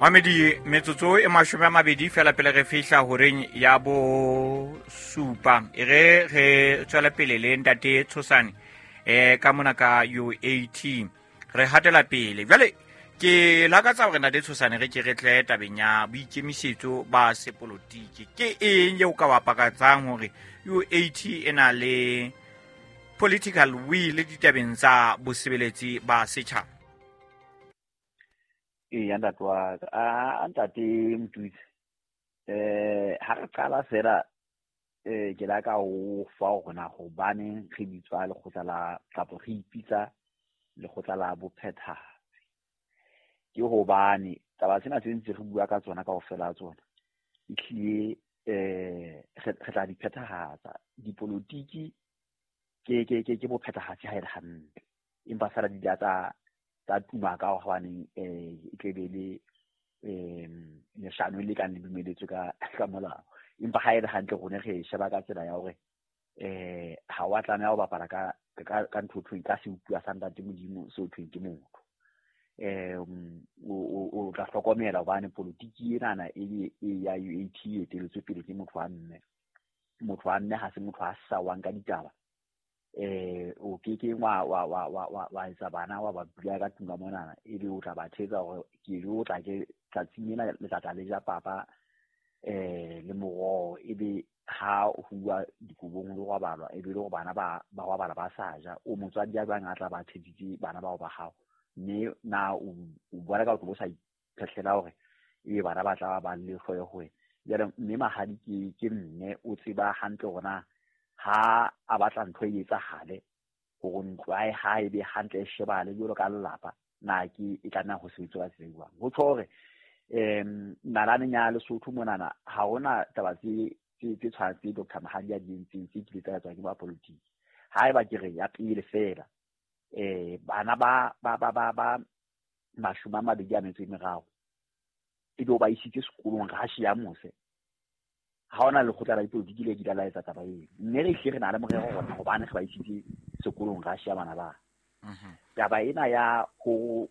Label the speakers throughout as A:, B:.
A: Mamedi, metsotso e 20 fela pele re fihla horeng ya 7. E re re tswele pele le ntate Tshosane ka mona ka UAT. Re hatela pele. Jwale ke lakatsa hore ntate Tshosane re ke re tle tabeng ya boikemisetso ba sepolotiki. Ke eng eo ka bapakatsang hore UAT e na le political will ditabeng tsa bosebeletsi ba setjhaba?
B: Eya, ntate wa ka, a ntate Motutsi, ha re qala fela ke la ka o fa hore na hobaneng re bitswa lekgotla la kapa re ipitsa lekgotla la bophethahatsi. Ke hobane taba tsena tse ntse re bua ka tsona kaofela ha tsona, ehlile re tla di phethahatsa. Dipolotiki ke bophethahatsi ha e le hantle, empa feela di la tsa tuma ka hobaneng e tle be le leshano le kang le dumeletswe ka molao. Empa ha e le hantle rona re sheba ka tsela ya hore ha wa tlameha ho bapala ka ntho e thweng ka seutlwa sa ntate Modimo seo thweng ke motho. O tla hlokomela hobane politiki enana e ya UAT e eteletswe pele ke motho wa mme. Motho wa mme ha se motho a sawang ka ditaba. O ke ke wa etsa bana wa ba bula ka tlung ka monana, ebe o tla ba thetsa hore ke lo tla ke tsatsing ena le tla tla le ja papa le moroho, ebe ha ho huwa dikobong le robalwa, ebe le hore bana ba robala ba sa ja. O motswadi ya jwang a tla ba thetsitse bana bao ba hao, mme na o bona ka o tlo sa iphetlela hore ebe bana ba tla ba le hloyo ho wena. Jwale mme mahadi ke mme o tseba hantle hore na ha a batla ntho e etsahale hore ntlo ya hae e be hantle e shebahale jwalo ka lelapa, na ke e tlameha ho sebetswa ka tsela e jwang. Ho tjho hore nalaneng ya Lesotho monana ha hona taba tse tshwanang tse Dr. Mahadi a di entseng tse kileng tsa etswa ke ba politiki. Haeba ke re ya pele fela, bana ba 23 ebe o ba isitse sekolong Russia mose, ha hona lekgotla la dipolotiki le kile la etsa taba eo. Mme re hlile re na le morero rona hobane re ba isitse sekolong Russia bana ba. Taba ena ya ho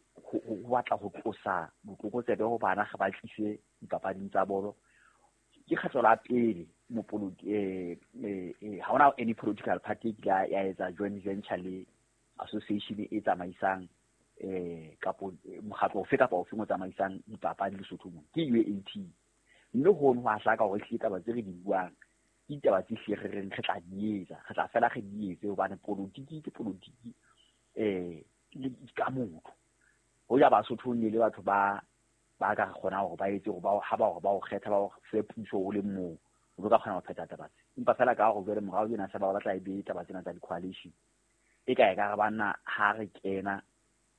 B: batla ho tlosa botlokotsebe ho bana re ba tlise dipapading tsa bolo, ke kgetlo la pele ha hona any political party e kile ya etsa joint venture le association e tsamaisang kapo mokgatlo ofe kapa ofe o tsamaisang dipapadi Lesotho mona, ke UAT. Mme hono ho a hlaka hore ehlile taba tse re di buang ke ditaba tse hlile re reng re tla di etsa, re tla fela re di etse hobane politiki ke politiki ka motho. Hoja Basotho ne le batho ba ka re kgonang hore ba etse hore ha ba hore ba o kgetha ba o fe puso o le mong, o ka kgona ho phetha taba tse. Empa fela ka hore jwale morao tjena se ba batla e be taba tsena tsa di-coalition, e ka e ka re banna ha re kena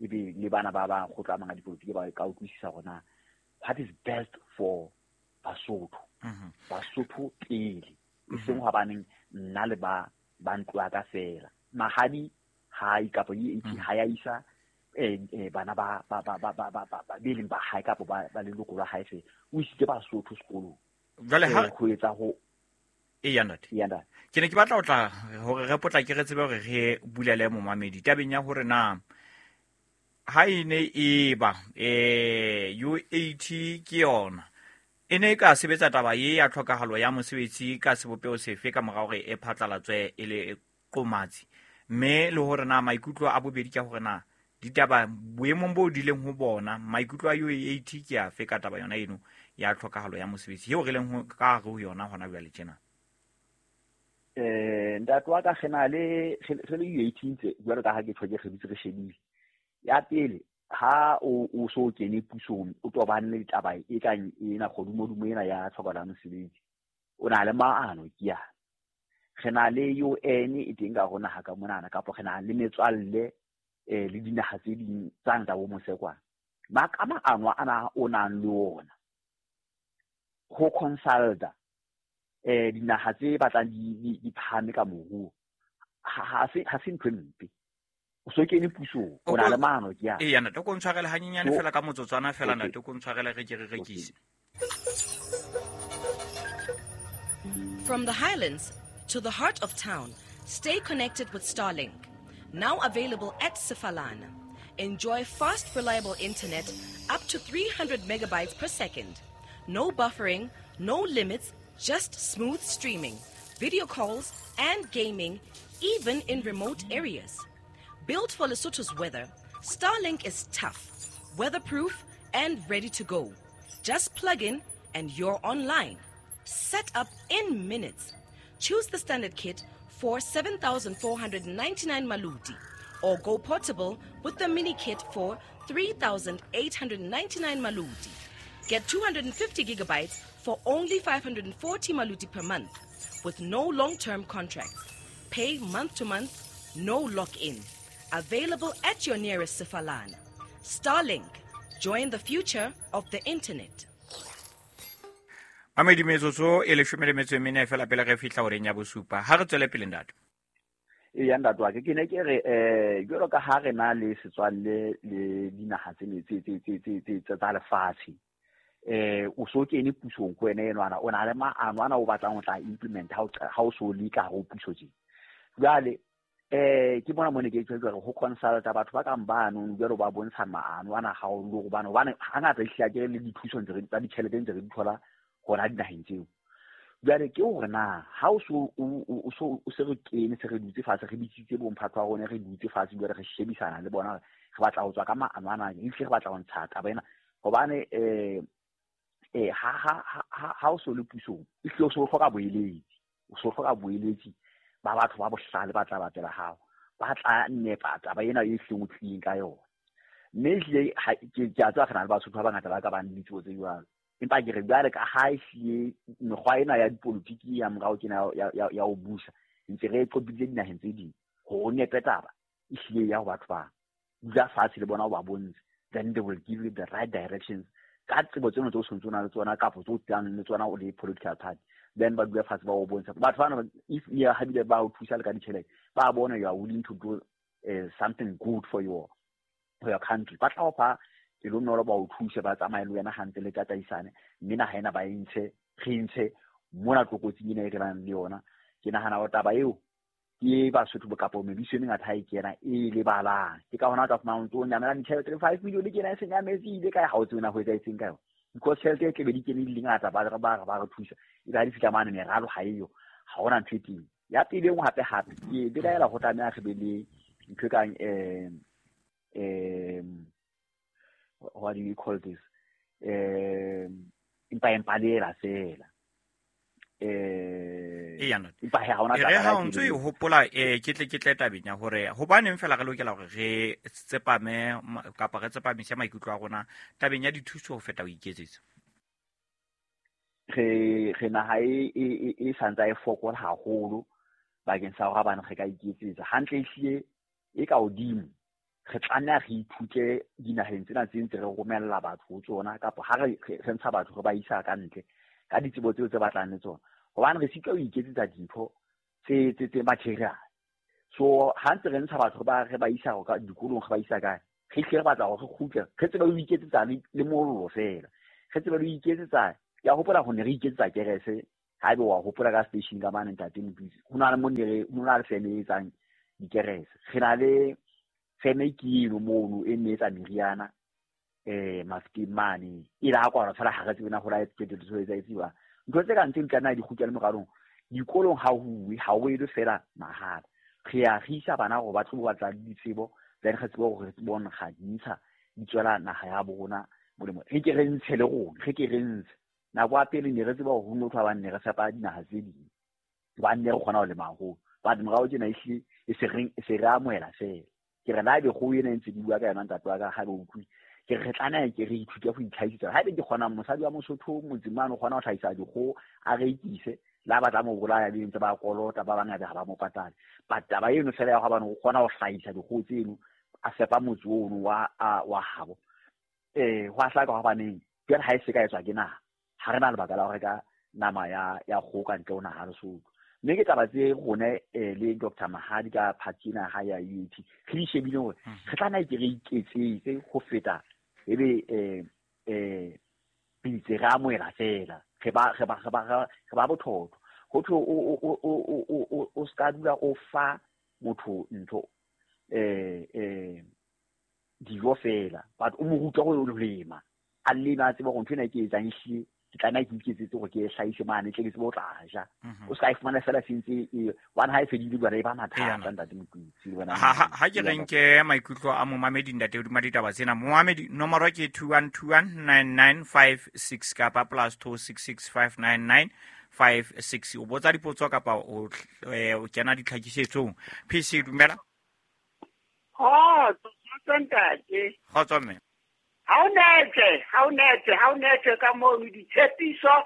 B: ebe le bana ba bang kgotla a mang a dipolotiki ba ka utlwisisa hore na what is best for Basotho. Basotho pele, e seng hobaneng nna le ba ntlo ya ka fela. Mahadi ha e kapa UAT ha ya isa bana ba be leng ba hae kapa ba leloko la hae fela, o isitse Basotho sekolong.
A: Jwale ha
B: ho etsa ho
A: Eya ntate.
B: Eya ntate.
A: Ke ne ke batla ho tla hore re potlake re tsebe hore re bulele momamedi tabeng ya hore na ha e ne e ba UAT ke yona e ne e ka sebetsa taba ye ya tlhokahalo ya mosebetsi ka sebopeho sefe ka mora hore e phatlalatswe e le qomatsi, mme le hore na maikutlo a bobedi ke hore na ditaba boemong bo di leng ho bona maikutlo a UAT ke afe ka taba yona eno ya tlhokahalo ya mosebetsi eo re leng ho ka hare ho yona hona jwale tjena.
B: Ntate wa ka re na le re le UAT ntse jwalo ka ha ke tjho ke re dutse re shebile. Ya pele ha o so kene pusong o tobane le taba e kang ena kgodumodumo ena ya tlhokahalo ya mosebetsi, o na le maano ke yana. Re na le UN e teng ka hare ho naha ka monana, kapa re na le metswalle le dinaha tse ding tsa nka bo mose kwana. Ba ka maano ana o nang le ona ho consulta dinaha tse batlang di phahame ka moruo, ha se ntho e mpe. O so kene pusong, o na le maano ke yana.
A: Eya ntate, o ko ntshwarele hanyenyane fela ka motsotswana fela ntate, o ko ntshwarele re ke re rekise.
C: From the highlands to the heart of town, stay connected with Starlink. Now available at Sefalana. Enjoy fast, reliable internet up to 300 megabytes per second. No buffering, no limits, just smooth streaming, video calls, and gaming, even in remote areas. Built for Lesotho's weather, Starlink is tough, weatherproof, and ready to go. Just plug in and you're online. Set up in minutes. Choose the standard kit for 7,499 maluti or go portable with the mini kit for 3,899 maluti. Get 250 gigabytes for only 540 maluti per month with no long-term contracts. Pay month to month, no lock-in. Available at your nearest Sefalana. Starlink. Join the future of the internet.
A: Mamedi, metsotso e 14 fela pele re fihla horeng ya 7. Ha re tswele pele, ntate.
B: E ya, ntate wa ke, ke ne ke re jwalo ka ha re na le setswalle le dinaha tse tse tse tse tse tse tsa lefatshe, o so kene pusong ko wena enwana, o na le maano ana o batlang ho tla implement ha o so le ka ho puso tje. Jwale ke bona mo ne ke tjho ho consulta batho ba kang bano jwalo ba bontsha maano ana ha o le hobane hangata ehlile ke le dithuso ntse re tsa ditjhelete ntse re di thola hona dinaheng tseo. Jwale ke hore na ha o so o so o se re kene, se re dutse fatshe, re bitsitse bomphato wa rona, re dutse fatshe jwale re shebisana le bona, re batla ho tswa ka maano ana, ehlile re batla ho ntsha taba ena hobane ha ha ha ha o so le pusong, ehlile o so hloka boeletsi, o so hloka boeletsi ba batho ba bohlale ba tla batela hao, ba tla nepa taba ena e hleng o tlileng ka yona. Mme ehlile ke a tseba re na le Basotho ba bangata ba ka bang le ditsebo tse jwalo, empa ke re jwale ka ha ehlile mekgwa ena ya dipolotiki ya morao kena ya ho busa ntse re e qopiditse dinaheng tse ding, hore o nepe taba ehlile ya ho batho ba dula fatshe le bona o ba bontshe, then they will give you the right directions ka tsebo tseno tse o sontse o na le tsona kapa tse o tlang le tsona o le political party. Then ba dula fatshe ba o bontsha batho bana, if ya habile ba o thusa le ka ditjhelete, ba bona you are willing to do something good for your country, ba tla o fa pelonolo, ba o thuse, ba tsamaye le wena hantle, le tataisane, mme naha ena ba e ntshe, re ntshe mona tlokotsing ena e re nang le yona. Ke nahana hore taba eo ke Basotho bo kapa mebuso e mengata ha e kena e lebalang. Ke ka hona o tla fumana o ntso o nyamela ditjhelete, 5 million ke ena e se nyametse, ile kae, ha o tsebe na ho etsahetseng ka yona, because tjhelete e tlebe di kene di le ngata, ba re thusa, ebe ha di fihla mane meralo ha eyo, ha hona ntho e teng. Ya pele e nngwe hape hape ke belaela ho tlameha re be le ntho e kang what do you call this, empa le ela fela
A: Eya, ntate.
B: Empa he, ha hona
A: E re
B: taba
A: ha
B: ya
A: o ntso e
B: pele.
A: hopola, ke tle tabeng ya hore hobaneng fela re lokela hore re tsepame kapa re tsepamise maikutlo a rona tabeng ya dithuso ho feta ho iketsetsa.
B: Re naha e santsa e fokola haholo bakeng sa hore bana re ka iketsetsa hantle. Ehlile e ka hodimo re tlameha re ithute dinaheng tsena tse ntse re romella batho ho tsona, kapa ha re ntsha batho re ba isa ka ntle ka ditsebo tseo tse batlang le tsona, hobane re sitwa ho iketsetsa dintho tse material. So ha ntse re ntsha batho re ba isa ka dikolong, re ba isa kae, re hlile re batla hore re kgutle re tsebe ho iketsetsa le mollo fela, re tsebe le ho iketsetsa. Ke a hopola ho ne re iketsetsa kerese, haebe wa hopola ka station ka mane, ntate Mothusi, ho na le mo ne re ho na le feme e etsang dikerese, re na le feme ke eno mono e ne etsa meriana Mafikeng mane, e la kwalwa fela, ha re tsebe na ho la qetelletse ho etsahetse jwang. Ntho tse kang tseo di tlameha di kgutlele moralong. Dikolong ha huwe, ha o elwe fela mahala, re ya re isa bana hore ba tlo batla le ditsebo, then re tsebe hore re tsebe ho nkga di ntsha di tswela naha ya bo rona molemo, re ke re ntshe le rona, re ke re ntshe. Nako ya pele ne re tseba hore ho motho wa bane ne re fepa dinaha tse ding hobane ne re kgona ho lema haholo, but morao tjena ehlile e se re amohela fela. Ke re la ebe kgoho ena e ntse di bua ka yona, ntate wa ka, ha be utlwile, ke re re tlameha ke re ithute ho itlhahisetsa. Haebe ke kgona, mosadi wa Mosotho motseng mane o kgona ho hlahisa dikgoho, a rekise, le ha ba tla mo bolaya be ntse ba kolota ba bangata ha ba mo patale, but taba eno fela ya hobane o kgona ho hlahisa dikgoho tseno, a fepa motse ono wa habo, ho a hlaka hobaneng jwale ha e se ka etswa ke naha, ha re na lebaka la ho reka nama ya kgoho ka ntle ho naha Lesotho. Mme ke taba tse rone le Dr Mahadi ka party ena ha ya UAT re di shebile hore re tlameha ke re iketsetse ho feta ebe pitse re amohela fela, re ba bothotho. Ho thwe o ska dula o fa motho ntho dijo fela, but o mo ruta ho lema. A leme a tsebe hore ntho ena e ke etsang ehlile ke tlameha ke iketsetse hore ke e hlahise mane tle ke tsebe ho tla ja. O ska e fumana fela se ntse e hobane ha e fedile jwale e ba mathata ntate Mokutsi le wena.
A: Ha ke re nke maikutlo a momamedi ntate hodima ditaba tsena. Momamedi nomoro ke 21219956 kapa +26659956. O botsa dipotso kapa o kena ditlhakisetsong. PC dumela.
D: Kgotso, kgotso ntate.
A: Kgotso mme.
D: Ha o netse ka mono ditshepiso,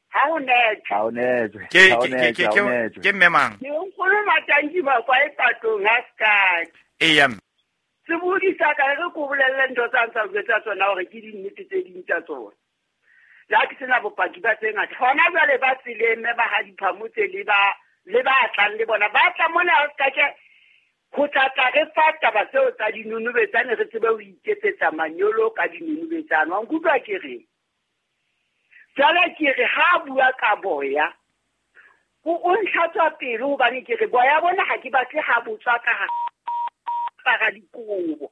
D: ha o netse.
B: Ha o netse.
A: Ke mme mang?
D: Ke nkgono Matanki ba kwa e patong ha Sky.
A: Eya mme.
D: Sebodi sa ka re ko bolelle ntho tsa ntsa jwetsa tsona hore ke dinnete tse ding tsa tsona. La ke sena bopaki ba tse ngata. Hona jwale ba tseleng mme ba ha diphamotse le ba tlang le bona. Ba tla mona ha Sky ke ho tla tla re fa taba tseo tsa dinonobetsane re tsebe ho iketsetsa manyolo ka dinonobetsane. Wa nkutlwa ke reng? Jwale ke re ha bua ka boya, o ntlhatswa pelo hobane ke re boya bona ha ke batle ha botswa ka hara dikobo.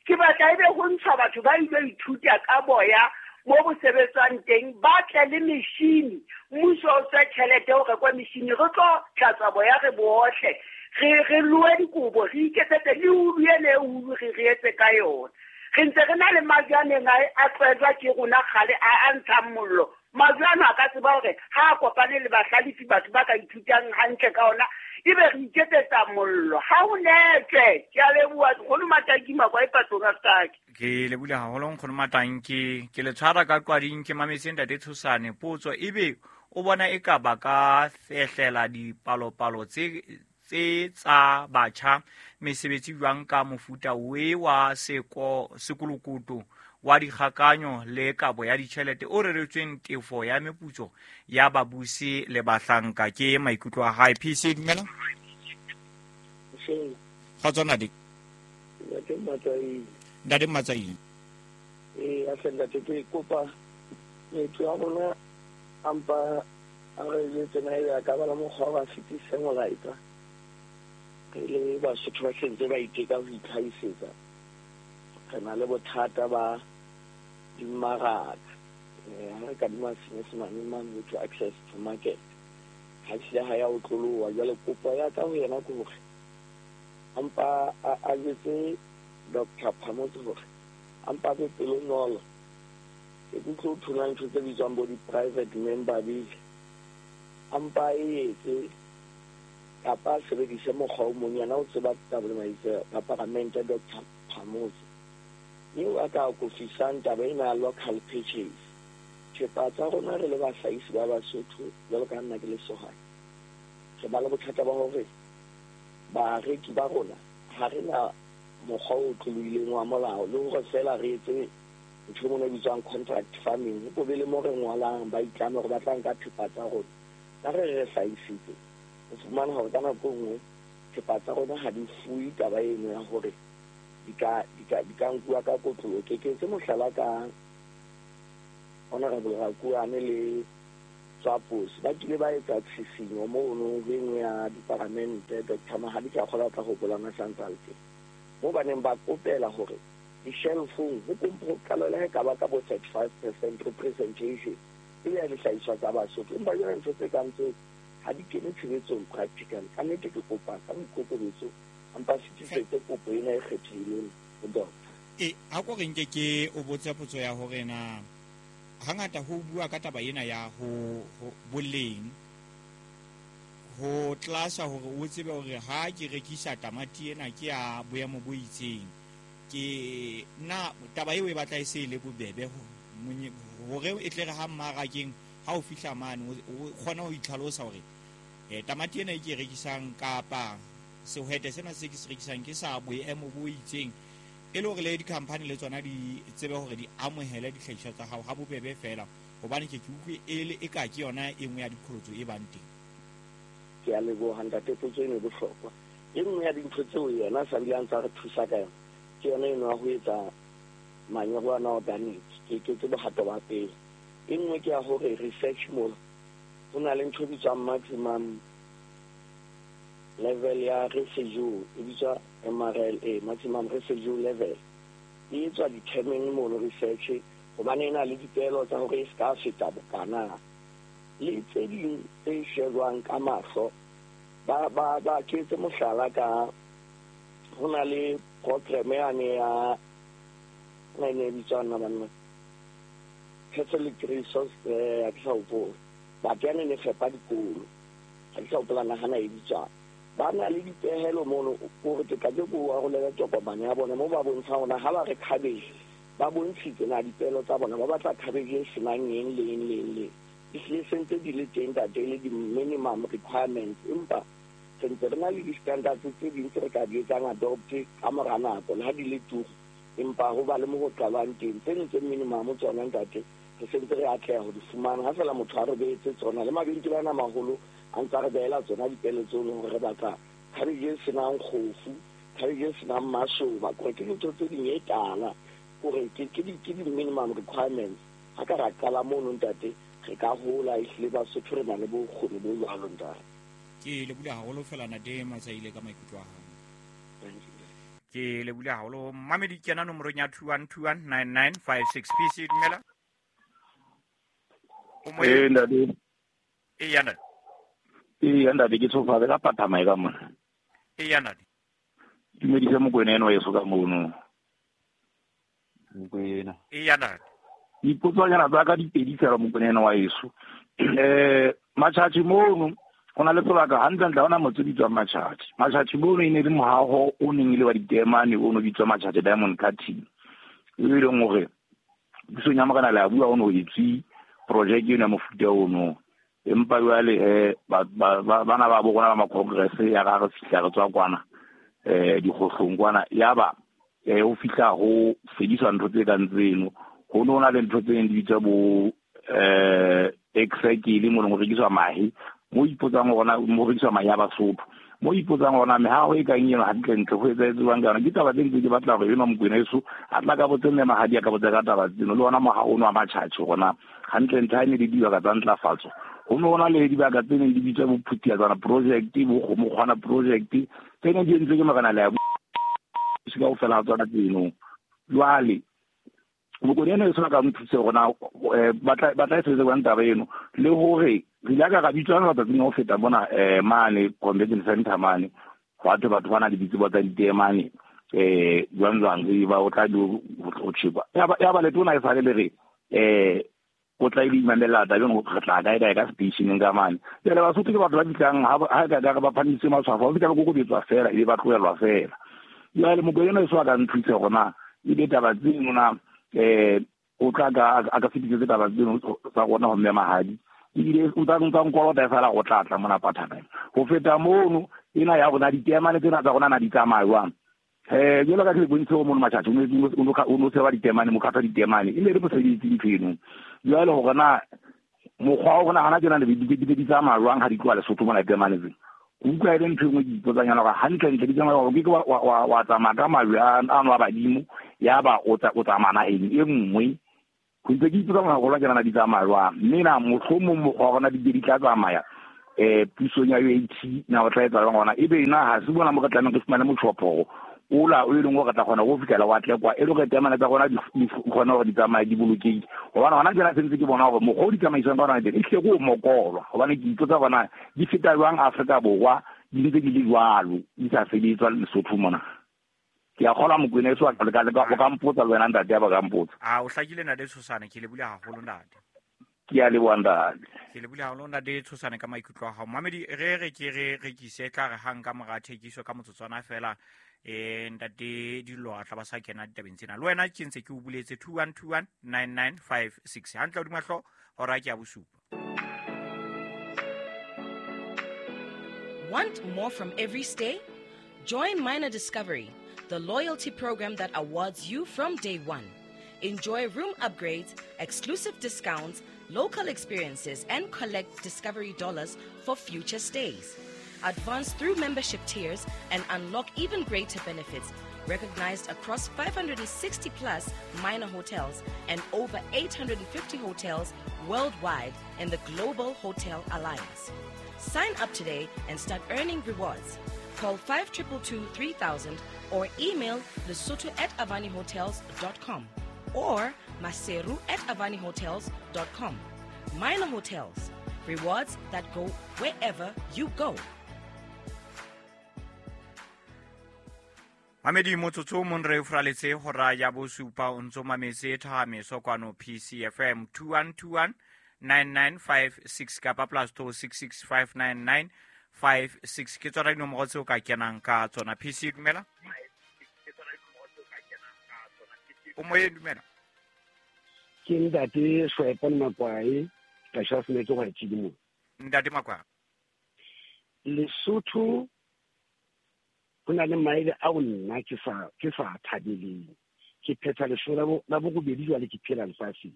D: Ke batla ebe ho ntshwa batho ba ile ithuta ka boya mo bo sebetswang teng, ba tle le meshini. Mmuso o tswe tjhelete ho rekwa meshini, re tlo tlatswa boya re bohle. Re loe dikobo, re iketsetse le ulu ene ulu re etse ka yona. Re ntse re na le majwe a neng a tlwaetswa ke rona kgale a ntshang mollo. Majwe ano a ka tseba hore ha a kopane le bahlalefi batho ba ka ithutang hantle ka ona, ebe re iketsetsa mollo. Ha o netse, ke a leboha nkgono Matanki Makwa e patong a Sky.
A: Ke lebohile haholo nkgono Matanki. Ke le tshwara ka qwading ke mametse ntate Tshosane potso ebe o bona e ka ba ka fehlela dipalopalo tse tsa batjha mesebetsi jwang ka mofuta we wa sekolokoto wa dikgakanyo le kabo ya ditjhelete o reretsweng tefo ya meputso ya babusi le bahlanka. Ke maikutlo a hae. PC dumela. Kgotso ntate. Ntate Matsaile.
E: Ahle ntate, ke kopa motho wa rona ampa a re jwetse na ebe a ka ba le mokgwa wa fetise molaetsa. Re le Basotho ba sentse ba iteka ho itlhahisetsa. Re na le bothata ba dimmaraka. Ha re kadima Senyesemane mane to access to market. Ha ehlile ha ya otloloha. Jwale kopo ya ka ho yena ke hore ampa a jwetse Dr. Phamotse hore ampa be pelonolo. Ke tlo thola ntho tse bitswang bo di-private member bill. Ampa e etse kapa sebedise mokgwa o mong, yena o tseba taba le maitse a paramente Dr. Phamotse. Eo a ka akofisang taba ena ya local purchase. Thepa tsa rona re le bahlahisi ba Basotho, jwalo ka nna ke le sehwai, re ba le bothata ba hore bareki ba rona ha re na mokgwa o tlolohileng wa molao le hore feela re etse ntho e mona e bitswang contract farming. Ho be le mo re ngwalang ba itlame hore ba tla nka thepa tsa rona. Ka re re hlahisitse, o fumana hore ka nako e nngwe thepa tsa rona ha di fuwe taba eno ya hore di ka nkuwa ka kotloloho. Ke etse mohlala ka Honorable Rakuane le Tswapos. Ba kile ba etsa tshisinyo mono ho e nngwe ya diparamente, Dr. Mahadi ke a kgolwa o tla hopola na sa ntse a le teng. Moo ba neng ba kopela hore di-shelfong ho qalwe le ha e ka ba ka bo 35% representation e be ya dihlahiswa tsa Basotho. Empa jwale ntho tse kang tseo ha di kene tshebetsong practically. Ka nnete ke kopa ka boikokobetso ampa fetisetse kopo ena e kgethehileng ho doctor.
A: Ha ko re nke ke o botse potso ya hore na hangata ho bua ka taba ena ya ho boleng ho tlasa hore o tsebe hore ha ke rekisa tamati ena ke ya boemo bo itseng, ke na taba eo e batla e se le bobebe hore e tle re ha mmarakeng ha o fihla mane o kgona ho itlhalosa hore tamati ena e ke rekisang kapa sehwete sena se ke se rekisang ke sa boemo bo itseng, e le hore le di-company le tsona di tsebe hore di amohele dihlahiswa tsa hao ha bobebe fela, hobane ke utlwe e le e ka ke yona e nngwe ya diqholotso e bang teng.
E: Ke a leboha ntate, potso eno e bohlokwa. E nngwe ya dintho tseo yena a sa bile a ntsa re thusa ka yona ke yona eno ya ho etsa manyolo ana organic. Ke bohato ba pele. E nngwe ke ya hore research mola ho na le ntho e bitswang maximum level ya residue, e bitswa MRLA, maximum residue level. E etswa determine mono research Hobane e na le dipehelo tsa hore e se ka feta bokana. Le tse ding tse shejwang ka mahlo, ba ke etse mohlala ka ho na le program yane ya na e ne e bitswang na banna, Catholic Resource, ha ke sa hopola. But yane ne fepa dikolo, ha ke sa hopola na hana e bitswang. Ba na le dipehelo mono, hore ke tla ke ko arolele tokomane ya bona moo ba bontshang hore ha ba re cabbage, ba bontshitse na dipehelo tsa bona, ba batla cabbage e senang eng le eng le eng le eng. Ehlile se ntse di le teng ntate, e le di-minimum requirements, empa re ntse re na le di-standards tse ding tse re ka di etsang adopt ka mora nako, le ha di le turu, empa ho ba le mo ho qalwang teng. Tse ding tse minimum tsona ntate, re sentse re atleha ho di fumana ha fela motho a re behetse tsona. Le mabenkele ana maholo a ntse a re behela tsona dipele tseno hore re batla cabbage e senang kgofu, cabbage e senang masoba, kore ke dintho tse ding e tala, kore ke di-minimum requirements. Ha ka ra qala mono ntate, re ka hola, ehlile Basotho re na le bokgoni bo jwalo ntate.
A: Ke lebohile haholo fela ntate Matsaile ka maikutlo a hao.
E: Thank you.
A: Ke lebohile haholo. Mamedi kena nomorong ya 21219956. PC dumela. O moyeng?
F: Eh, ntate.
A: E ya ntate.
F: E ya ntate, ke tshofa ka pathama e ka mona.
A: E ya ntate.
F: Dumedisa Mokwena eno wa heso ka mono.
B: Mokwena.
A: E ya ntate.
F: Dipotsonyana tsa ka di pedi fela Mokwena eno wa heso. Matjhatjhe mono ho na le sebaka hantlentle, ha hona motse o bitswang Matjhatjhe. Matjhatjhe mono e ne le mohaho o neng e le wa diteemane, o no bitswa Matjhatjhe Diamond Cutting, e leng hore pusong ya Morena le a bua ho no etswe projeke eno ya mofuta ono. Empa jwale bana ba bo rona ba ma-congress ya ra re fihla re tswa kwana, dikgohlong kwana, yaba ho fihla ho fediswa ntho tse kang tseno. Ho no na le ntho tse neng di bitswa bo Excycle, mo leng ho rekiswa mahe, mo ipotsang hore na mo rekiswa mahe a Basotho, mo ipotsang hore na mehaho e kang eno hantlentle ho etsahetse jwang ka yona. Ke taba tse ntse ke batla hore enwa Mokwena heso a tla ka botse mme Mahadi a ka botsa ka taba tseno, le ona mohaho ono wa Matjhatjhe hore na hantlentle ha e ne le dibaka tsa ntlafatso. Ho no na le dibaka tse neng di bitswa bo Phuthiatsana project, bo Kgomokgwana project, tse neng di entswe ke Morena Leabu kaofela ha tsona tseno. Jwale Mokwena eno e tshwana ka nthuse hore na ba tla e sebetsa jwang taba eno, le hore re ile ka ra bitswa matsatsing a ho feta mona mane convention center mane, hwa thwe batho ba na le ditsebo tsa diteemane, jwang jwang ba o tla di ho tjhekwa. Ya ba letona e sale le re o tla e imamela taba eno, re tla kae kae ka stationeng ka mane. Jwale Basotho ke batho ba fihlang ha ka ka ba phamisitse matshwafo, ba fihla ba kokobetswa fela, ebe ba tlohelwa fela. Jwale Mokwena eno e so a ka nthuse hore na ebe taba tseno na o tla ka a ka fetisetse taba tseno tsa rona ho mme Mahadi, ebile o ntsa nkolota e fela go tla tla mona Pathaneng. Ho feta mono ena ya rona diteemane tsena tsa rona na di tsamaya jwang? Jwalo ka ke le bontshitse ho mono Matjhatjhe, o no tsheba diteemane, mokgatlo wa diteemane, e ne le mosebetsi ntho eno. Jwale hore na mokgwa wa rona hana tjena le di tsamaya jwang ha di tloha Lesotho mona diteemane tsena? Ke utlwa e le ntho e nngwe ke ipotsang yana hore hantlentle di tsamaya hore ke wa tsamaya ka majwe ano a badimo, yaba o tsamaya naheng e nngwe. Ho ntse ke ipotsa hore haholo tjena na di tsamaya jwang. Mme na mohlomong mokgwa wa rona di ke di tla tsamaya pusong ya UAT na o tla etsa jwang hona? Ebe na ha se bona mo re tlamehang re fumane motjhophoro ola o e leng hore re tla kgona ho fihlela wa tle kwa, e le hore teemane tsa rona di kgone hore di tsamaye di bolokehile. Hobane hona tjena se ntse ke bona hore mokgwa o di tsamaiswang ka hona teng ehlile ke o mokolwa, hobane ke ipotsa hore na di feta jwang Afrika Borwa di ntse di le jwalo, di sa sebetswa Lesotho mona. Ke a kgolwa Mokwena heso a o ka mpotsa le wena ntate, ya ba ka mpotsa.
A: A o hlakile ntate Tshosane, ke lebohile haholo ntate.
F: Ke a leboha ntate.
A: Ke lebohile haholo ntate Tshosane ka maikutlo a hao. Mamedi, re re ke re rekise tla re hang ka mora thekiso ka motsotswana fela, ntate Dillo a tla ba sa kena ditabeng tsena. Le wena ke ntse ke o buletse 21219956. Hantle hodima hlooho, hora ke ya bosupa.
C: Want more from every stay? Join Minor Discovery, the loyalty program that awards you from day one. Enjoy room upgrades, exclusive discounts, local experiences, and collect Discovery dollars for future stays. Advance through membership tiers and unlock even greater benefits, recognized across 560 plus minor hotels and over 850 hotels worldwide in the Global Hotel Alliance. Sign up today and start earning rewards. Call 5222 3000 or email lesotho@avanihotels.com or maseru@avanihotels.com. Minor Hotels, rewards that go wherever you go.
A: Mamedi motsotso mong re furaletse hora ya bosupa o ntso mametse Thahameso kwano PCFM 2121 9956 kapa +266 599 56 ke tsona dinomoro tseo ka kenang ka tsona. PC dumela. O moyeng, dumela.
E: Ke ntate Shwepane Makwai, ka Shasne ke go tshedimo.
A: Ntate Makwai.
E: Lesotho go na le maele ao nna ke sa thabeleng. Ke phetha lesolo la bobedi jwale ke phela lefatsheng.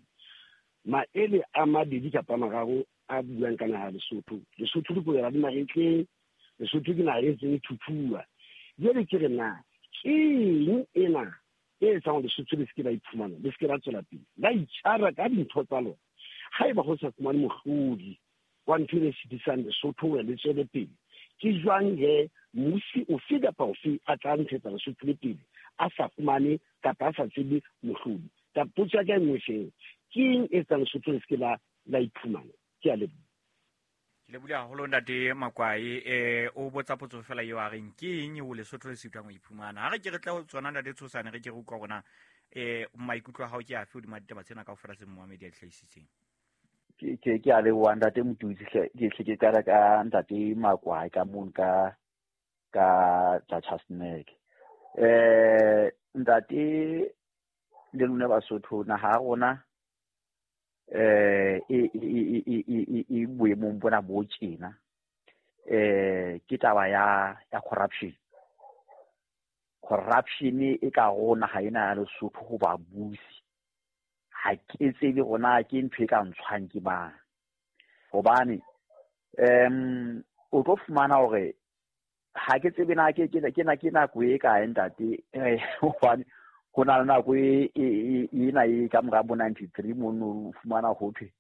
E: Maele a mabedi kapa mararo a buang ka naha Lesotho. Lesotho le boela le mahetleng, Lesotho ke naha e ntseng e thuthuwa. Jwale ke re na ke eng ena e etsang Lesotho le se ke la iphumana, le se ke la tswela pele, la itjara ka dintho tsa lona. Haeba ho sa fumane mohlodi wa ntho e sitisang Lesotho hore le tswele pele, ke jwang he mmusi ofe kapa ofe a tla ntshetsa Lesotho le pele a sa fumane kapa a sa tsebe mohlodi? Ka potso ya ka e nngwe fela, ke eng e etsang Lesotho le se ke la iphumana? Ke a leboha.
A: Ke lebohile haholo ntate Makwai. O botsa potso fela eo a reng ke eng eo Lesotho le sitwang ho iphumana. Ha re ke re tle ho tsona ntate Tshosane, re ke re utlwa hore na maikutlo a hao ke afe hodima ditaba tsena kaofela tse momamedi a di hlahisitseng.
B: Ke a leboha ntate Motutsi hle, ke hle ke qala ka ntate Makwai ka mono ka Chasnek. Ntate le lona Basotho, naha ya rona e boemong bona bo tjena. Ke taba ya corruption. Corruption e ka ho naha ena ya Lesotho ho ba busi. Ha ke tsebe hore na ke ntho e ka ntshwang ke mang. Hobane o tlo fumana hore ha ke tsebe na ke nako e kae ntate, hobane ho na le nako ena e ka mora bo 93 mono o fumana ho thwe,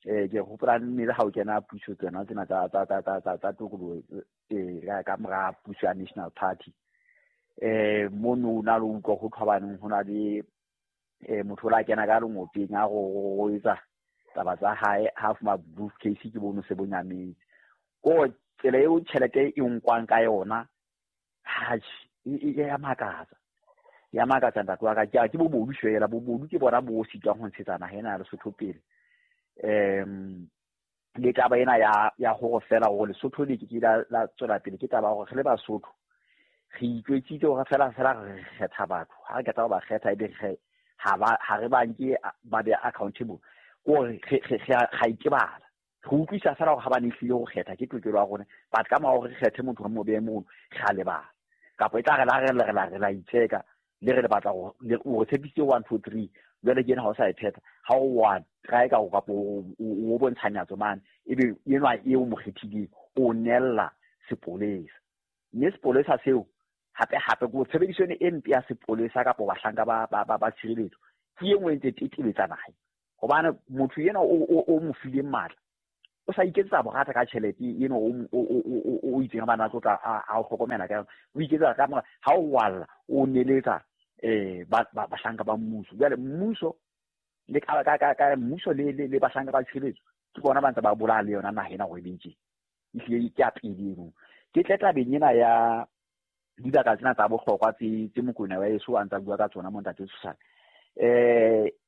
B: ke hopola mme le ha o kena puso tsena tsena tsa tokoloho, ka mora puso ya National Party, mono o na le utlwa ho thwa baneng ho na le motho o la kena ka lengopeng a go etsa taba tsa hae, ha fuma briefcase ke bono se bo nyametse. Ko tsela eo tjhelete e nkwang ka yona, atjhe, e ya makatsa. Ya makatsa ntate wa ka, ke bobodu fela, bobodu ke bona bo sitwang ho ntshetsa naha ena ya Lesotho pele. Le taba ena ya hore fela hore Lesotho le ke ke la tswela pele, ke taba ya hore re le Basotho re itjwetsitse hore fela re kgetha batho. Ha re qeta ho ba kgetha, ebe re ha re ba nke ba be accountable. Ke hore re ra itebala. Re utlwisa fela hore ha ba ne hlile ho kgetha ke tokelo ya rona, but ka mora hore re kgethe motho wa mo behe mono, re a lebala. Kapa e tla re la re le re la re la itsheka, le re le batla hore le o re tshepisitse 1 2 3, jwale ke ena ha o sa e phetha, ha o wa try ka kapa o bontsha nyatso mane, ebe enwa eo mo kgethileng o nella sepolesa. Mme sepolesa seo hape hape ko tshebediso ena e mpe ya sepolesa kapa bahlanka ba tshireletso ke e nngwe e ntse tetebetsa naha. Hobane motho ena o mo fileng matla, o sa iketsetsa borata ka tjhelete eno o itseng bana tlo tla a o hlokomela ka yona. O iketsetsa ka mora, ha o walla, o neletsa bahlanka ba mmuso. Jwale mmuso le ka mmuso le bahlanka ba tshireletso ke bona ba ntse ba bolaya le yona naha ena hore e be tje. Ehlile ke ya pele eno. Ke tle tabeng ena ya dibaka tsena tsa bohlokwa tse Mokoena wa heso a ntsa bua ka tsona mo ntate Tshosane.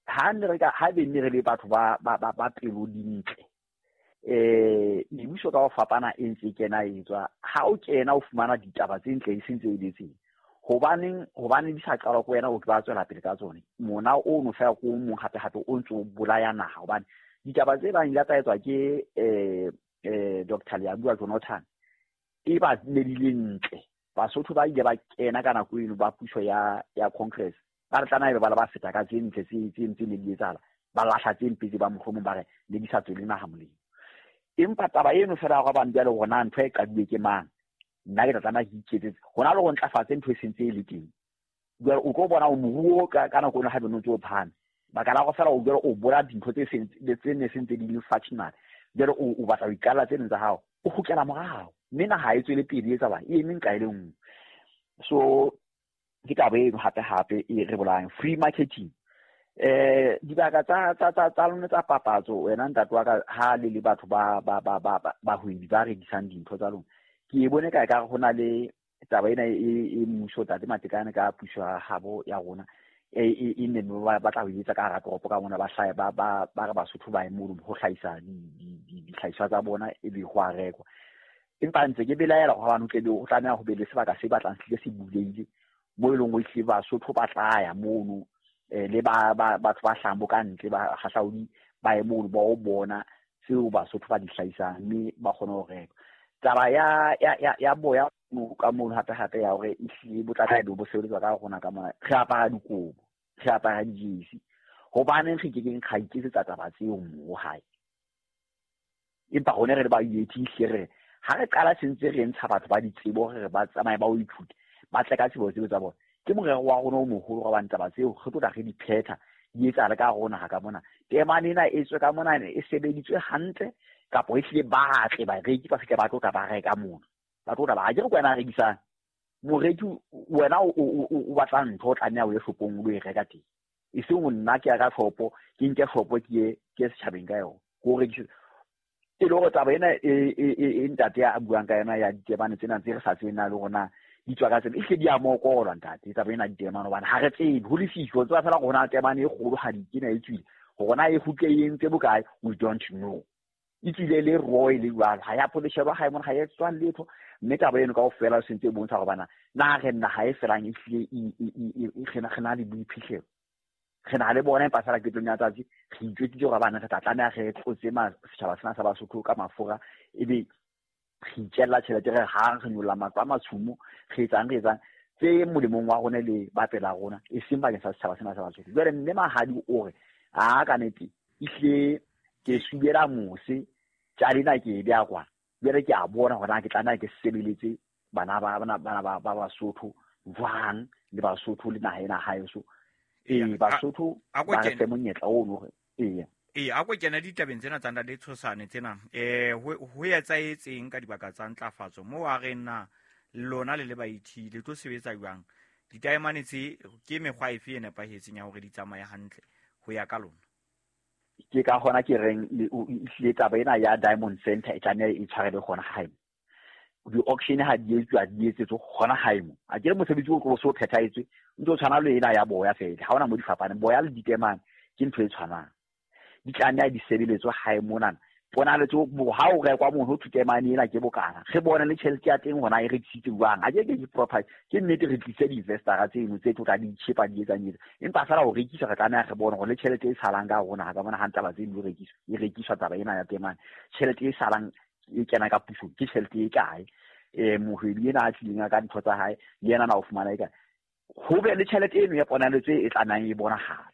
B: Ha ne re ka, ha be ne re le batho ba pelo dintle, mebuso ka ho fapana e ntse e kena e tswa. Ha o kena o fumana ditaba tse ntle e seng tse eletseng. Hobane di sa qalwa ke wena, o tla tswela pele ka tsone. Mona o no fela ko mong hape hape o ntso bolaya naha, hobane ditaba tse bang di tla etswa ke Doctor Leabua Jonathan e ba ne di le ntle. Basotho ba ile ba kena ka nako eno ba puso ya Congress, ba re tlameha ebe ba le ba feta ka tse ntle tse ntse ne di etsahala, ba lahla tse mpe tse ba mohlomong ba re ne di sa tswele naha molemo. Empa taba eno fela ya hore bane jwale hore na ntho e qadilwe ke mang, nna ke tla tlameha ke iketsetse. Hona le ho ntlafatse ntho e sentse e le teng. Jwale o tlo bona moruo ka nako eno ha be no ntse o phahame. Baka la hore fela o jwale o bola dintho tse seng, tse ne sentse di le functional. Jwale o batla ho iqalla tse ding tsa hao, o kgutlela morao. Mme naha e tswele pele e etsahalang, e eme nqa e le nngwe. So ke taba eno hape hape e re bolayang. Free marketing. Dibaka tsa lona tsa papatso wena ntate wa ka ha le le batho ba ba ba ba bahwebi ba rekisang dintho tsa lona, ke bone ka ekare ho na le taba ena e mmuso tate Matekane ka puso ya habo ya rona e ne ba batla ho etsa ka hara toropo ka mona, ba hlahe ba ba ba re Basotho ba ye mono ho hlahisa dihlahiswa tsa bona ebe ho a rekwa. Empa ntse ke belaela hobane o tlebe o tlameha ho be le sebaka se batlang se hlile se bulehile mo e leng hore ehlile Basotho ba tla ya mono, le ba batho ba hlahang bo ka ntle ba hahlaodi ba ye mono ba o bona tseo Basotho ba di hlahisang mme ba kgone ho reka. Taba ya boya ka mono hape hape ya hore ehlile bo tlameha ebe bo sebeletswa ka rona ka mona, re apara dikobo, re apara dijesi, hobaneng re kekeng ra iketsetsa taba tseo moo hae? Empa rona re le ba UAT hle re ha re qala sentse re ntsha batho ba ditsebo re ba tsamaye ba o ithute, ba tle ka tsebo tseo tsa bona. Ke morero wa rona o moholo wa hobane taba tseo re tlo tla re di phetha di etsahale ka rona ha ka mona. Temane ena e tswe ka mona e sebeditswe hantle kapa e hlile ba tle bareki ba fihle ba tlo tla ba reka mona. Ba tlo tla ba, ha ke re ke wena a rekisang. Moreki wena o batla ntho o tlameha o ye shopong o lo e reka teng. E seng nna ke ya ka shopo, ke nke shopo ke ye setjhabeng ka yona. Ke o rekise. E le hore taba ena e ntate a buang ka yona ya ditemane tsena tse re sa tsebeng na le hore na di tswa ka tsela, ehlile di a mokolwa ntate taba ena ditemane hobane ha re tsebe ho lefifi, o tseba fela hore ho na le temane e kgolo ha di kena e tswile, hore na e kgutle e entse bokae, we don't know. E tswile le roy le jwalo, ha ya poleshelwa hae mona, ha ya etswa letho. Mme taba eno kaofela e sentse e bontsha hore bana na re naha e felang ehlile re na le boiphihlelo, re na le bona, empa fela qetong ya tsatsi re itjwetsitse hore bana re tla tlameha re tlotse setjhaba sena sa Basotho ka mafura, ebe re itjella tjhelete, re hang re nyolla matlo a matshumo, re etsang tse molemong wa rona le ba pela rona, e seng bakeng sa setjhaba sena sa Basotho. Jwale mme Mahadi o re a ka nete ehlile ke subela mose tjalena ke e beha kwana, jwale ke a bona hore na ke tlameha ke sebeletse bana ba Basotho jwang le Basotho le naha ena haeso. Basotho ba re fe monyetla ono hore eya.
A: A ko kena ditabeng tsena tsa ntate Tshosane tsena, ho etsahetseng ka dibaka tsa ntlafatso moo a reng na lona le le baithuti le tlo sebetsa jwang? Ditaemane tse ke mekgwa efe e nepahetseng ya hore di tsamaye hantle ho ya ka lona?
B: Ke ka hona ke reng ehlile taba ena ya Diamond Center e tlameha e tshwarelwe hona hae. Di-auction ha di etswa, di etsetswe hona hae mo. A ke re mosebetsi o tlo so phethahetswe, o ntso tshwana le ena ya boya fela, ha hona mo di fapaneng. Boya le ditemane ke ntho e tshwanang, di tlameha di sebeletswe hae monana. Ponaletso ha o rekwa mono ho thwe temane ena ke bokana, re bone le tjhelete ya teng hona e rekisitse jwang. Ha ke ke property, ke nnete re tlise di-investor-a tseno tse tlo tla di tjhepa di etsang etsa, empa fela ho rekisa re tlameha re bone hore le tjhelete e salang ka rona ha ka bona ha taba tseno di rekiswa, e rekiswa taba ena ya temane, tjhelete e salang e kena ka pusong ke tjhelete e kae? Mohwebi ena a tlileng ka ntho tsa hae le yena na o fumana e kae? Ho be le tjhelete eno ya ponaletso e tlamehang e bonahale.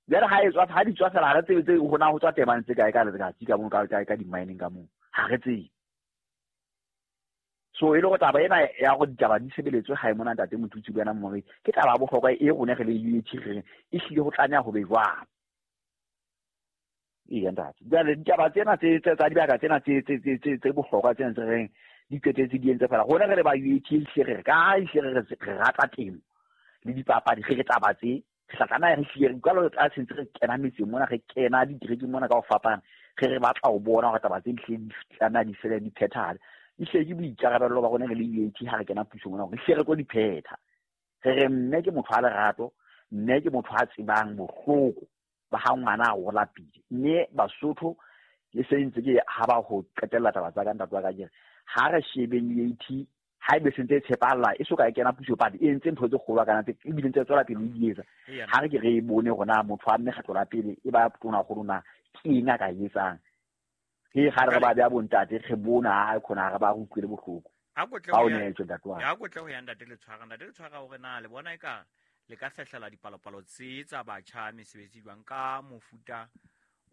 B: Jwale ha e tswa, ha di tswa fela, ha re tsebe tse hona ho tswa temane tse kae ka letsatsi ka moo, ka di-mining ka moo, ha re tsebe. So e le hore taba ena ya hore ditaba di sebeletswe hae mona ntate Motutsi le wena Mmoredi, ke taba ya bohlokwa e rona re le UAT re reng ehlile ho tlameha ho be jwalo. Eya ntate. Jwale ditaba tsena tsa dibaka tsena tse bohlokwa tsena tse reng di qetetse di entse fela, rona re le ba UAT ehlile re re ka ha ehlile re rata temo le dipapadi, re re taba tse re tla tlameha re hlile re utlwa le a sentse re kena metseng mona, re kena diterekeng mona ka ho fapana, re batla ho bona hore taba tse di hlile di tlameha di fele di phethahale. Ehlile ke boikarabello ba rona re le UAT ha re kena pusong mona hore ehlile re tlo di phetha. Re re mme ke motho a lerato, mme ke motho a tsebang bohloko ba ha ngwana a hola pele. Mme Basotho le se ntse ke ha ba ho qetella taba tsa ka ntate wa ka ke re, ha re shebeng UAT ha ebe sentse e tshepahalla, e soka e kena puso pele, e entse ntho tse kgolo kana tse ebile ntse tswela pele e di etsa. Ha re ke re e bone hore na motho wa mme kgetlo la pele e ba tona kgolo na ke eng a ka e etsang. Ke ga re ba beha bontate re bona ha khona re ba re utlwele bohloko.
A: Ha ko tle
B: Ha
A: ho
B: o
A: ya
B: neetswe ntate wa ka.
A: Ha ko tle ho ya ntate Letshwara, ntate Letshwara hore na le bona eka le ka fehlela dipalopalo tse tsa batjha mesebetsi jwang ka mofuta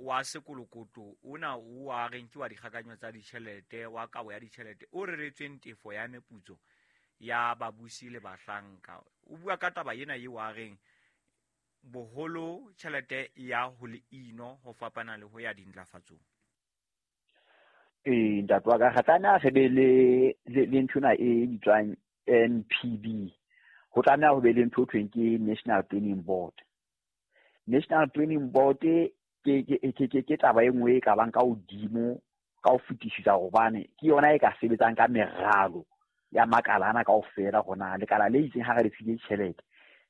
A: wa sekolokoto ona o a reng ke wa dikgakanyo tsa ditjhelete, wa kabo ya ditjhelete o reretsweng tefo ya meputso ya babusi le bahlanka. O bua ka taba ena eo a reng boholo tjhelete ya ho le ino ho fapana le ho ya dintlafatsong.
B: Ntate wa ka, re tlameha re be le nthwena e bitswang NPB. Ho tlameha ho be le ntho e thweng ke National Planning Board. National Planning Board ke taba e nngwe e ka bang ka hodimo ka ho fetisisa, hobane ke yona e ka sebetsang ka meralo ya makala ana kaofela. Hona lekala le itseng ha re le file tjhelete,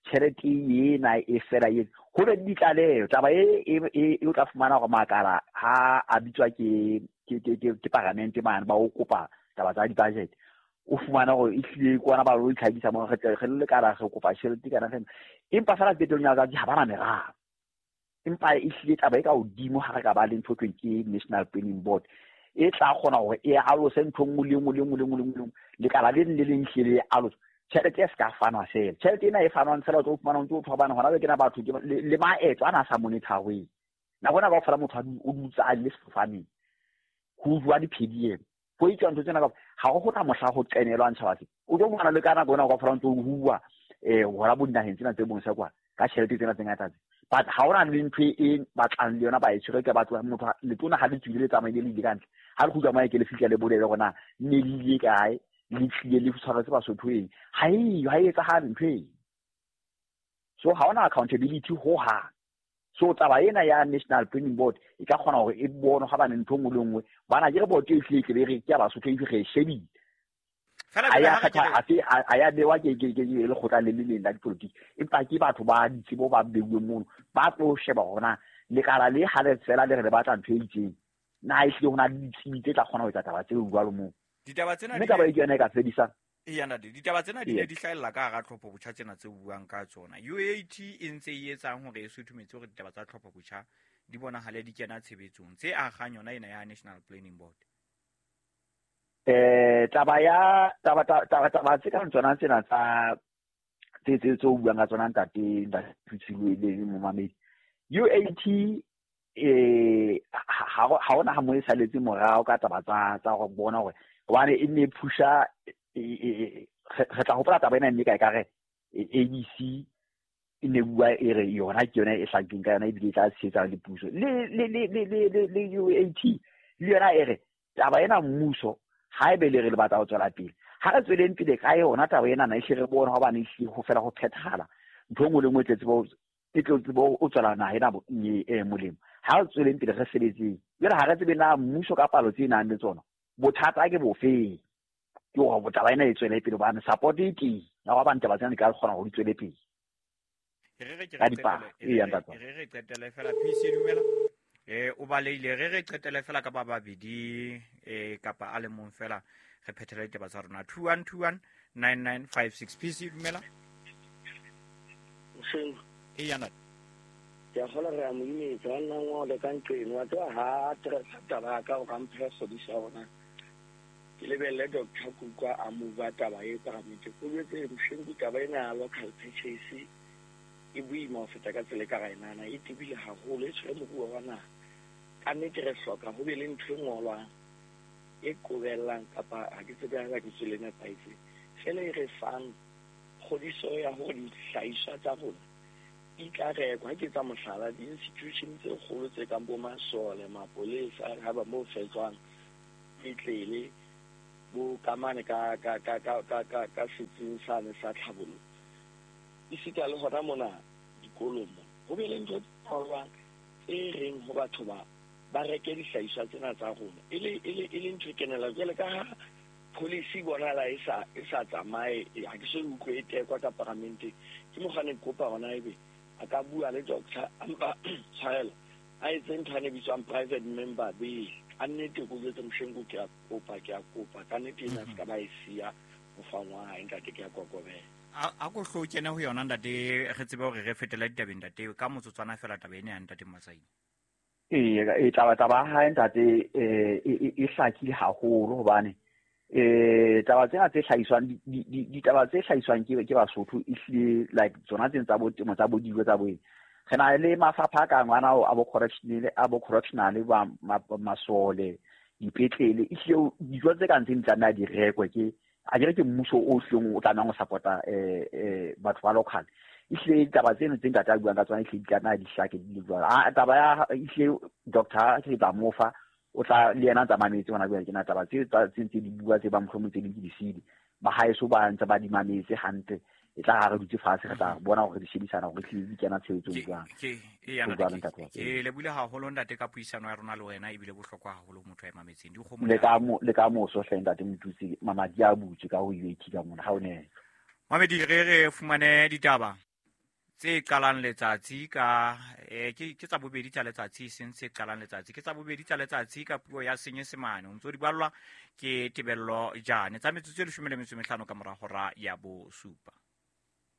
B: tjhelete ena e fela e ho be le ditlaleho. Taba e o tla fumana hore makala ha a bitswa ke paramente mane ba o kopa taba tsa di-budget, o fumana hore ehlile kwana ba lo itlhakisa mo re le lekala re kopa tjhelete kana fela, empa fela qetellong ya letsatsi ha ba na meralo. Empa ehlile taba e ka hodimo ha re ka ba le ntho thweng ke National Planning Board e tla kgona hore e alose ntho nngwe le nngwe le nngwe le nngwe le nngwe, lekala le leng le leng hlile le alose. Tjhelete e se ka fanwa fela, tjhelete ena e fanwang fela o tlo fumana o ntse o thobana hona jwale ke na batho le maeto ana a sa monitor-weng. Nako ena kaofela motho o dutse a le sefofaneng, ho jowa di-PDM, ho etswa ntho tsena kaofela, ha ho na mohla ho qenelwang tjhaba se. O tlo fumana le ka nako ena kaofela o ntso o huwa hona bo dinaheng tsena tse mose kwa ka tjhelete tsena tse ngata tse. But ha hona le ntho e batlang le yona ba e tshwere ke batho motho letona ha le tswile le tsamaile le ile ka ntle, ha le kgutla moya ke le fihla le bolele hore na ne le ile kae, le tlile le tshwaretse Basotho eng, ha eyo, ha e etsahale ntho eo. So ha hona accountability ho hang. So taba ena ya National Planning Board e ka kgona hore e bone ha bane ntho nngwe le nngwe, bana ke re board e tlile e re ke ya Basotho e re e shebile. A ya bewa ke lekgotla le le leng la dipolotiki, empa ke batho ba ditsebo ba beuweng mono ba tlo sheba hore na lekala le ha le fela le re le batla ntho e itseng, na ehlile ho na le ditsebi tse tla kgona ho etsa taba tseo jwalo moo.
A: Ditaba tsena
B: mme taba e ke yona e ka fedisang.
A: Eya ntate, ditaba tsena di ne di hlahella ka hara tlhopho botjha tsena tse buang ka tsona. UAT e ntse e etsang hore e suthumetse hore ditaba tsa tlhopho botjha di bonahale di kena tshebetsong tse agang yona ena ya National Planning Board.
B: Taba ya taba taba taba tse kang tsona tsena tsa tse tse tse buang ka tsona ntate Ntate le momamedi. UAT ha hona ha mo e saletse morao ka taba tsa go bona hore hobane e ne pusha re tla hopola taba ena mme ka e ka re ABC e ne bua e re yona ke yona e hlakileng ka yona ebile e tla tshehetsa le puso le le le le le le UAT le yona e re taba ena mmuso ha ebe le re le batla ho tswela pele, ha re tsweleng pele ka yona taba ena na ehle re bone hobane ehlile ho fela ho phethahala ntho e nngwe le nngwe e tle tsebo o tswela naha ena molemo. Ha re tsweleng pele re sebetseng. Jwale ha re tsebe na mmuso ka palo tse nang le tsona bothata ke bofeng, ke hore taba ena e tswele pele hobane support e teng ya hore taba tsena di ka kgona hore di tswele pele.
A: Re re qetele fela PC dumela. O baleile re qetele fela ka ba babedi kapa a le mong fela re phethele ditaba tsa rona. 2121 9956 PC dumela.
E: Seng.
A: Eya ntate.
E: Ke a kgolwa re a mo imetsa, wa nna ngole ka nqeno, wa tseba ha address taba ya ka o ka mphe kgodiso ya rona. Ke lebelle Doctor Kuka a mova taba e paramente. O jwetse Mshengu taba ena ya local purchase e boima ho feta ka tsela e ka ra e nahana, e tebile haholo, e tshwere moruo wa naha. Ka nnete re hloka ho be le ntho e ngolwang e qobellang kapa ha ke tsebe haeba ke tswele nepahetse, fela e re fang kgodiso ya hore dihlahiswa tsa rona di tla rekwa. Ha ke etsa mohlala, di-institution tse kgolo tse kang bo masole, mapolesa, haeba moo fetswang petlele, bo kamane ka ka ka ka ka ka ka setsing sane sa tlhabollo, esita le hona mona dikolong mo ho be le ntho tse ngolwang tse reng ho batho ba reke dihlahiswa tsena tsa rona, e le ntho e kenela. Jwale ka ha policy bonahala e sa tsamaye, ha ke so utlwe e tekwa ka paramenteng, ke mokgwa ne ke kopa hona ebe a ka bua le doctor ampa tshwarelo a etse ntho a ne bitswang private member bill. Ka nnete ko jwetse Mshengu, ke a kopa ka nnete ena se ka ba e siya ho fangwa hae ntate, ke a kokobela.
A: A ko hlo kene ho yona ntate, re tsebe hore re fetela ditabeng ntate ka motsotswana fela taba ena ya ntate Masai.
B: Ee, taba hae ntate e hlakile haholo hobane taba tsena tse hlahiswang ditaba tse hlahiswang ke Basotho ehlile like tsona tsena tsa bo temo tsa bo dijo tsa bo eng. Re na le mafapha a kang ana a bo correctional ba masole dipetlele, ehlile dijo tse kang tse di tlameha di rekwe ke a ke re ke mmuso o hleng o tlamehang ho support-a batho ba local. Ehlile ditaba tseno tse ntate a buang ka tsona ehlile di tlameha di hlake di le jwalo. Taba ya ehlile doctor ke tla mo fa, o tla le yena a tsamametse hona jwale tjena taba tse tse ntse di bua tse ba mohlomong tse ding ke di sile. Ba haeso ba ntse ba di mametse hantle. E tla ha re dutse fatshe, re tla bona hore re di shebisana hore hlile di kena tshebetsong jwang.
A: Ke lebohile haholo ntate ka puisano ya rona le wena, ebile bohlokwa haholo motho a mametseng. Dikgomo
B: le ka moso hle ntate Motutsi, mamadi a butswe ka ho UAT ka mona ha o ne.
A: Mamedi, re fumane ditaba tse qalang letsatsi ka ke tsa bobedi tsa letsatsi, seng tse qalang letsatsi ke tsa bobedi tsa letsatsi ka puo ya Senyesemane. O ntso di ballwa ke Tebello Jane tsa metsotso e 15 ka mora hora ya 7.